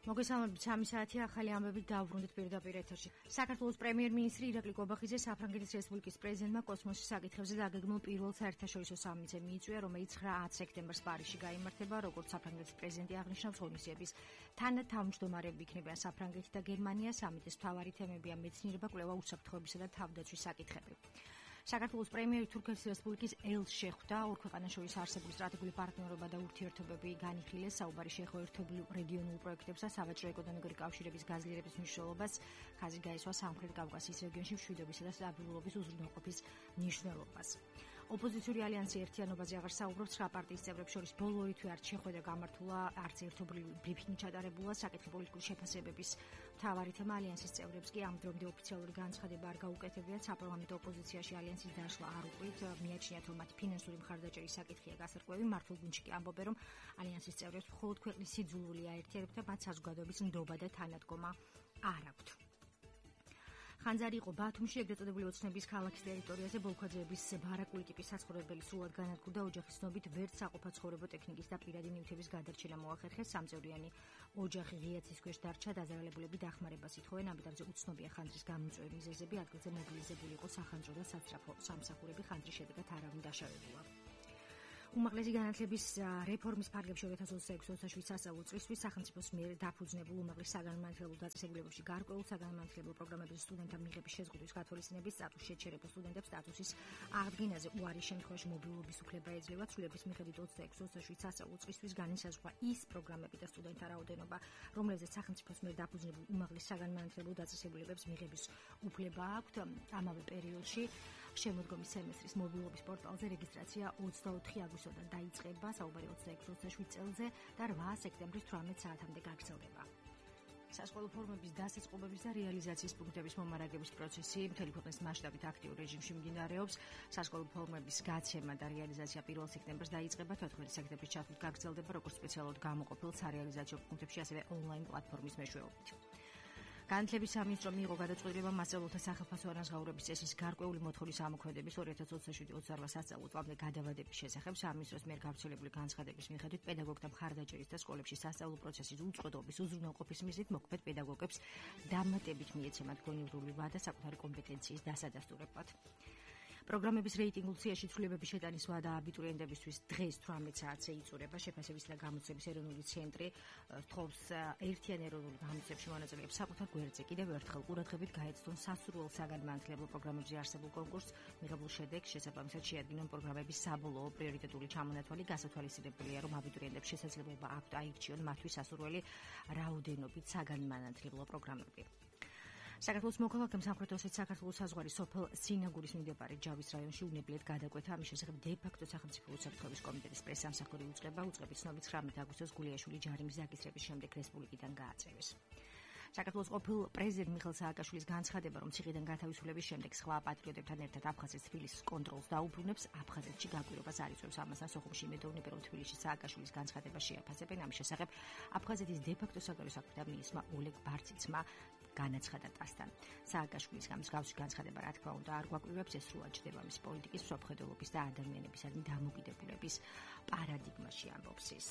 მოგესალმებით 3 საათი ახალი ამბებით დავბრუნდით პირდაპირ ეთერში. საქართველოს პრემიერ-მინისტრი ირაკლი კობახიძე საფრანგეთის რესპუბლიკის პრეზიდენტმა კოსმოსის საკითხებზე დაგეგმილ პირველ საერთაშორისო სამიტზე მიიწვია, რომელიც 9 სექტემბერს პარიზში გაიმართება, როგორც საფრანგეთის პრეზიდენტი აღნიშნავს, ღონისძიების თანათავმჯდომარეები იქნებიან საფრანგეთი და გერმანია. სამიტის მთავარი თემებია მეცნიერება, კვლევა, უსაფრთხოებისა და თავდაცვის საკითხები. საქართველოს პრემიერი თურქეთის რესპუბლიკის ელს შეხვდა, ორ ქვეყანას შორის არსებული სტრატეგიული პარტნიორობა და ურთიერთობები განიხილეს, საუბარი შეეხო ერთობლივ რეგიონულ პროექტებსა, სავაჭრო ეკონომიკური კავშირების გაზრდილების მნიშვნელობას, ხაზი გაისვა სამხრეთ კავკასიის რეგიონში მშვიდობისა და სტაბილურობის უზრუნველყოფის მნიშვნელობას. ოპოზიციური ალიანსი ერთიანობაზე აღარ საუბრობს, 9 პარტიის წევრებს შორის ბოლო ორი თვე არც შეხვედრა გამართულა, არც ერთობლივი ბრიფინგი ჩატარებულა, საკითხი პოლიტიკური შეფასებების მთავარი თემა ალიანსის წევრებს კი ამ დრომდე ოფიციალური განცხადება არ გაუკეთებიათ, საპარლამენტო ოპოზიციაში ალიანსის დაშლა არ უყვით, მიაჩნიათ, რომ მათი ფინანსური მხარდაჭერის საკითხია გასარკვევი, მართულ გუნდში კი ამბობენ, რომ ალიანსის წევრებს მხოლოდ ქვეყნის სიძულვილი აერთიანებთ და მათ საზოგადოების ნდობა და თანადგომა არ აქვთ. ხანძარი იყო ბათუმში, ეგრეთ წოდებული ოცნების ქალაქის ტერიტორიაზე ბოლქვაძეების ბარაკული ტიპის საცხოვრებელი სრულად განადგურდა, ოჯახის ცნობით ვერც საყოფაცხოვრებო ტექნიკის და პირადი ნივთების გადარჩენა მოახერხეს, სამწევრიანი ოჯახი ღიაცის ქვეშ დარჩა, დაზარალებულები დახმარებას ითხოვენ, ამიტომ უცნობია ხანძრის გამომწვევი მიზეზები, ადგილზე მობილიზებული იყო სახანძრო და სასწრაფო სამსახურები, ხანძრის შედეგად არავინ დაშავებულა. უმაღლესი განათლების რეფორმის ფარგლებში 2026-27 სასწავლო წლისთვის სახელმწიფოს მიერ დაფუძნებულ უმაღლეს საგანმანათლებლო დაწესებულებებში გარკვეულ საგანმანათლებლო პროგრამების სტუდენტთა მიღების შეზღუდვის გათვალისწინების სტატუსს შეჩერებულ სტუდენტებს სტატუსის აღდგენაზე უარის შემთხვევაში მობილობის უფლება ეძლევა. ცვლილების მიხედვით 26-27 სასწავლო წლისთვის განისაზღვრა ის პროგრამები და სტუდენტთა რაოდენობა, რომლებზეც სახელმწიფოს მიერ დაფუძნებულ უმაღლეს საგანმანათლებლო დაწესებულებებს მიღების უფლება აქვთ. ამავე პერიოდში შემოდგომის სემესტრის მობილობის პორტალზე რეგისტრაცია 24 აგვისტოდან დაიწყება, საუბარი 26-27 წელზე და 8 სექტემბრის 18 საათამდე გაგრძელდება. სასკოლო ფორმების დასაწყობების და რეალიზაციის პუნქტების მომარაგების პროცესი მთელი ქვეყნის მასშტაბით აქტიურ რეჟიმში მიმდინარეობს. სასკოლო ფორმების გაცემა და რეალიზაცია 1 სექტემბერს დაიწყება, 14 სექტემბრის ჩათვლით გაგრძელდება, როგორც სპეციალურად გამოყოფილ სარეალიზაციო პუნქტებში, ასევე ონლაინ პლატფორმის მეშვეობით. განათლების სამინისტრო მიიღო გადაწყვეტილება მასწავლებლთა სახელმწიფო ანაზღაურების წესის გარკვეული მოთხოვნის ამოქმედების 2027-28 სასწავლო წლამდე გადავადების შესახებ. სამინისტროს მიერ გავრცელებული განცხადების მიხედვით პედაგოგთა მხარდაჭერის და სკოლებში სასწავლო პროცესის უწყლოდობის უზრუნველყოფის მიზნით მოქმედ პედაგოგებს დამატებით მიეცემათ გონივრული ვადა საკუთარი კომპეტენციის დასადასტურებლად. პროგრამების რეიტინგულ სიაში ცვლილებების შეტანის ვადა აბიტურიენტებისთვის დღეს 18 საათზე იწურება. შეფასებისა და გამოცემის ეროვნული ცენტრი თხოვს ერთიან ეროვნულ გამოცემებში მონაწილეებს საკუთარ გვერდზე კიდევ ერთხელ ყურადღებით გაეცნონ სასურველ საგანმანათლებლო პროგრამებზე არსებულ კონკურსს, მიღებულ შედეგს შესაბამისად შეადგინონ პროგრამების საბოლოო პრიორიტეტული ჩამონათვალი. გასათვალისწინებელია, რომ აბიტურიენტებს შესაძლებლობა აქვთ აირჩიონ მათთვის სასურველი რაოდენობით საგანმანათლებლო პროგრამები. საქართველოს მოქალაქემ სამხრეთ ოსეთის საქართველოს საზღვარი სოფელ სინაგურის მიმდებარე ჯავის რაიონში უნებლიეთ გადაკვეთა. ამის შესახებ დე-ფაქტო სახელმწიფო უსაფრთხოების კომიტეტის პრესამსახური უწყება. უწყების ცნობით 19 აგვისტოს გულიაშვილი ჯარიმის დაკისრების შემდეგ რესპუბლიკიდან გააწევეს. საქართველოს ყოფილ პრეზიდენტ მიხეილ სააკაშვილის განცხადება, რომ ციხიდან გათავისუფლების შემდეგ სხვა პატრიოტებთან ერთად აფხაზეთის თბილისის კონტროლს დაუბრუნებს, აფხაზეთში გაკვირვებას არ იწვევს. ამასთან სოხუმში იმედოვნებენ, რომ თბილისში სააკაშვილის განცხადება შეაფასებენ. ამის შესახებ აფხაზეთის დე-ფაქტო საგარეო საქმეთა მინისტრმა ოლეგ ბარციცმა განაცხადა ტასთან. სააკაშვილის მსგავსი განცხადება, რა თქმა უნდა, არ გვაკვირვებს, ეს სრულად ჩნდება მის პოლიტიკის, მსოფლმხედველობის და ადამიანებისადმი დამოკიდებულების პარადიგმაში, ამბობს ის.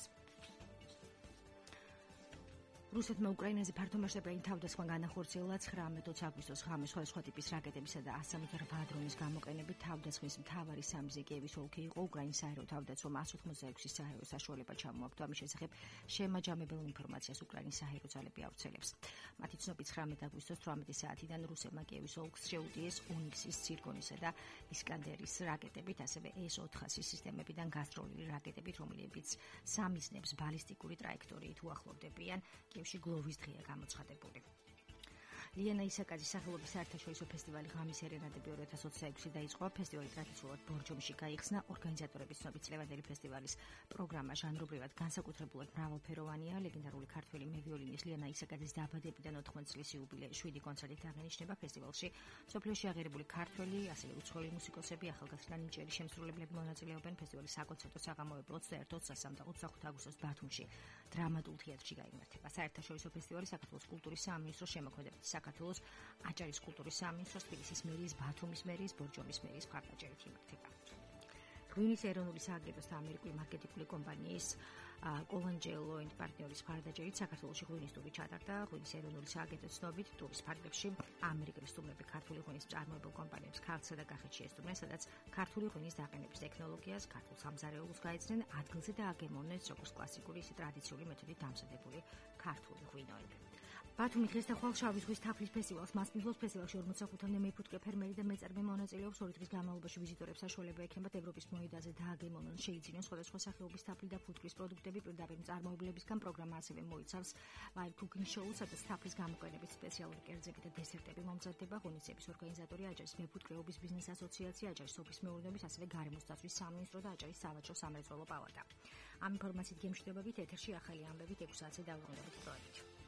რუსეთმა უკრაინაზე ფართომასშტაბიანი თავდასხმა განახორციელა 19 აგვისტოს ღამე სხვადასხვა ტიპის რაკეტებისა და 168 დრონის გამოყენებით. თავდასხმის მთავარი სამიზე კიევის ოლქი იყო. უკრაინის საერო თავდაცვამ 186 საერო საშუალება ჩამოაგდო. ამის შესახებ შემაჯამებელ ინფორმაციას უკრაინის საერო ძალები ავრცელებს. მათი ცნობით 19 აგვისტოს 18 საათიდან რუსებმა კიევის ოლქს შეუტიეს უნიქსის, ცირკონისა და ისკანდერის რაკეტებით, ასევე S-400 სისტემებიდან გასროლილი რაკეტებით, რომლებიც სამიზნებს ბალისტიკური ტრაექტორიით უახლოვდებიან. გლოვის დღეა გამოცხადებული. ლიანა ისაკაძის სახელობის საერთაშორისო ფესტივალი ღამის ერენადები 2026 დაიწყო. ფესტივალი ტრადიციულად ბორჯომში გაიხსნა. ორგანიზატორების ცნობით ლევანდელი ფესტივალის პროგრამა ჟანრობრივად განსაკუთრებულად მრავალფეროვანია. ლეგენდარული ქართველი მევიოლინის ლიანა ისაკაძის დაბადებიდან 80 წლის იუბილე 7 კონცერტით აღენიშნება. ფესტივალში სოფლიოში აღიარებული ქართველი, ასევე უცხოელი მუსიკოსები, ახალგაზრდა ნიჭიერი შემსრულებლები მონაწილეობენ. ფესტივალის საკონცერტო საღამოები 21-23 და 25 აგვისტოს ბათუმში დრამატულ თეატრში გაიმართება. საერთაშორისო ფესტივალი საქართველოს კულტურის სამინისტროს შემოქმედებით საქართველოს აჭარის კულტურის სამინისტროს, თბილისის მერიის, ბათუმის მერიის, ბორჯომის მერიის მხარდაჭერით იმართება. ღვინის ეროვნული სააგენტოს და ამერიკული მარკეტინგული კომპანიის კოლანჯელო and პარტნიორის მხარდაჭერით საქართველოში ღვინის ტური ჩატარდა. ღვინის ეროვნული სააგენტოს ცნობით, ტურის ფარგლებში ამერიკელი სტუმრები ქართული ღვინის მწარმოებელ კომპანიებს ქართლსა და კახეთში ესტუმრნენ, სადაც ქართული ღვინის დაყენების ტექნოლოგიას, ქართულ სამზარეულოს გაეცნენ, ადგილზე და აგემოვნეს როგორც კლასიკური, ისე ტრადიციული მეთოდით დამზადებული ქართული ღვინოები. ბათუმი დღეს და ხვალ შავი ზღვის თაფლის ფესტივალს მასპინძლობს. ფესტივალში 45-მდე მეფუტკრე ფერმერი და მეწარმე მონაწილეობს. 2 დღის განმავლობაში ვიზიტორებს საშუალება ექნებათ ევროპის მოედანზე დააგემოვნონ, შეიძინონ სხვადასხვა სახეობის თაფლი და ფუტკრის პროდუქტები პირდაპირ მწარმოებლებისგან. პროგრამა ასევე მოიცავს live cooking show-ს, სადაც თაფლის გამოყენებით სპეციალური კერძები და დესერტები მომზადდება. ღონისძიების ორგანიზატორი აჭარის მეფუტკრეობის ბიზნეს ასოციაცია, აჭარის სოფლის მეურნეობის, ასევე გარემოს დაცვის სამინისტრო და აჭარის სავაჭრო სამრეწველო პალატა. ამ ინფორმაციით გემშვიდობებით ეთერში ახალი ამბებით 6 საათზე დავუყურებთ პროექტი.